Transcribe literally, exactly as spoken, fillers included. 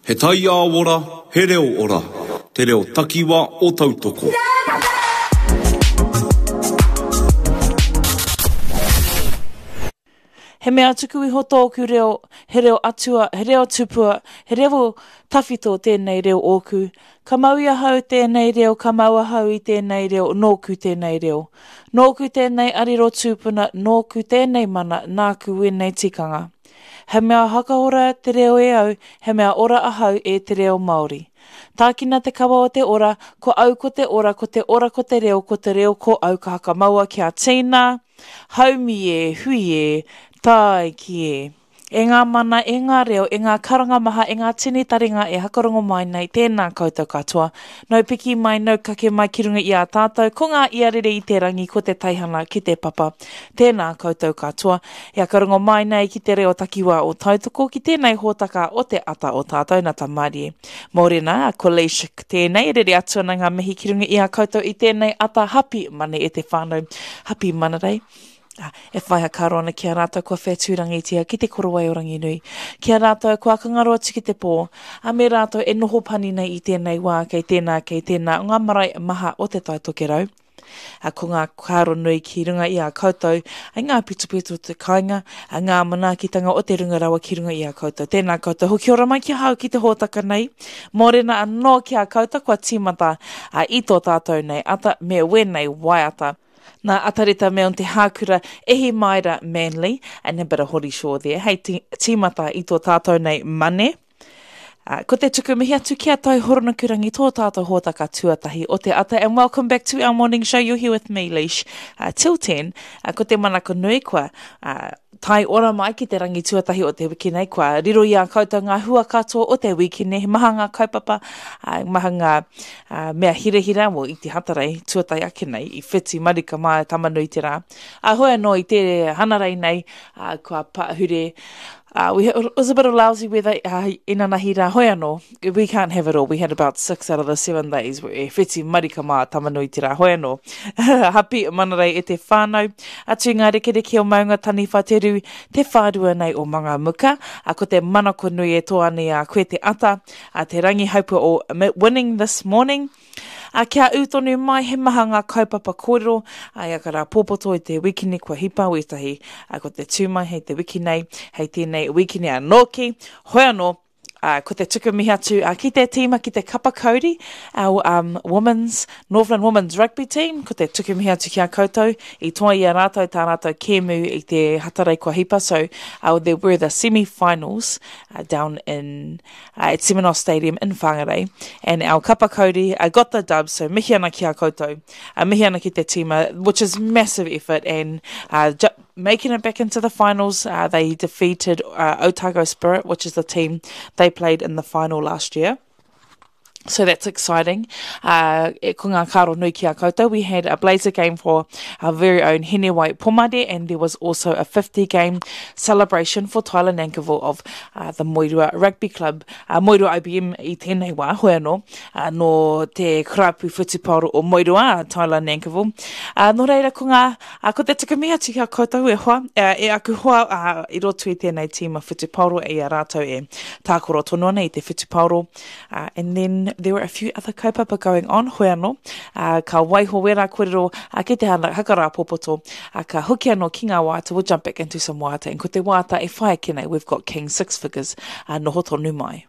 He taiao ora, he reo ora. Te reo takiwa o Tautoko. He mea tuku iho tōku reo, he reo atua, he reo tupua, he reo tawhito tēnei reo ōku. Ka mau i ahau tēnei reo, ka mau ahau i tēnei reo, nōku tēnei reo. Nōku tēnei arero tūpuna, nōku tēnei mana, nāku wēnei tikanga. He mea hakahora te reo e au, he mea ora ahau e te reo Māori. Tākina te kawa o te ora, ko au ko te ora, ko te ora ko te reo, ko te reo ko au ka hakamaua kia tīna, haumi e, hui e, tāiki e. E ngā mana, e ngā reo, e ngā karanga maha, e ngā tini taringa e hakarongo mai nei, tēnā koutou katoa. Nau piki mai, nau kake mai ki runga i a tātou, ko ngā iarere i te rangi, ko te teihana ki te papa. Tēnā koutou katoa. E hakarongo mai nei ki te reo takiwā o Tautoko, ki tēnei hōtaka o te ata o tātou, nā Tamarie. Mōrena, ko Leish tēnei, rere atu ana ngā mihi ki runga i a koutou i tēnei ata hapi mane e te whānau. Hapi manarei. E whai hakaro ana ki a rātou kua whetūrangitia ki te korowai o Ranginui, ki a rātou kua kangaro atu ki te pō, a me rātou e noho pani nei i tēnei wā kei tēnā, kei tēnā o ngā marae maha o te Tai Tokerau. A ko ngā kāro nui ki runga i a koutou, ai ngā pitopito o te kāinga, a ngā manaakitanga o te runga rawa ki runga i a koutou. Tēnā koutou, hoki ora mai ki ahau ki te hōtaka nei. Mōrena anō ki a koutou kua tīmata a, i tō tātou nei ata me wēnei waiata. Nā Atareta Milne te hākura Ehi Maira Manly and a bit of Hori Shaw there. Hei tīmata i tō tātou nei mane. Uh, ko te tuku mihi atu ki a Tau Horonukurangi, tō tātou hōtaka tuatahi o te ata. And welcome back to our morning show. You're here with me, Leish, uh, till ten. Uh, ko te manako nui kua uh, tai ora mai ki te rangi tuatahi o te wiki nei. Kua riro i a koutou ngā hua katoa o te wiki nei. He maha ngā kaupapa, uh, maha ngā uh, mea hirahira mo i te hatarei tuatahi ake nei, i whiti marika mā Tamanui te rā. Uh, hoi anō i te hanarei nei, uh, kua pahure. Uh, we, it was a bit of lousy weather uh, inanahi rā, hoi anō. We can't have it all. We had about six out of the seven days. E whiti marika mā Tamanui te rā, hoi anō. Hapi manarei e te whānau. Atu i ngā rekereke o Maunga Taniwha te rū, te whārua nei o Mangamuka. Uh, ko te manako nui e tō ane a koe te ata, uh, te rangi haupua o winning this morning. A kia ū tonu mai he maha ngā kaupapa kōrero, a ia ka rā pōpoto i te wikini kua hipa wētahi, a ko te tū mai hei te wiki nei, hei tēnei wikini anō ki, hoi anō, a, ko te tuku mihi atu a, ki te tīma, ki te kapa kauri, our um, women's, Northland Women's Rugby Team, ko te tuku mihi atu ki a koutou, i toa i a rātou tā rātou kēmu i te hatarei kua hipa, so uh, there were the semi-finals uh, down in uh, at Semenoff Stadium in Whangarei, and our kapa kauri uh, got the dub, so mihi ana ki a koutou, uh, mihi ana ki te tīma, which is massive effort, and uh, ju- making it back into the finals. Uh, they defeated uh, Otago Spirit, which is the team they played in the final last year. So that's exciting. Uh, e ko ngā karo nui ki a koutou. We had a Blazer game for our very own Hinewai Pomare, and there was also a fifty game celebration for Tyler Nankivell of uh, the Moerua Rugby Club. Uh, Moerua I B M i tēnei wā, hoi anō, uh, no te kurapu whutupaoro o Moerua, Tyler Nankivell. Uh, nō reira ko ngā, uh, ko te tuku mihi atu ki a koutou e hoa, uh, e aku hoa uh, i roto i tēnei tīma whutupaoro e i a rātou e tākoro tonu ana i te whutupaoro. Uh, and then there were a few other kaupapa going on, hoi anō, uh, ka waiho wera kōrero uh, ki te hana, hakarā popoto, uh, ka hoki anō ki ngā waiata, we'll jump back into some waiata, and ko te waiata e whai ake nei, we've got King Six Figures, uh, noho tonu mai.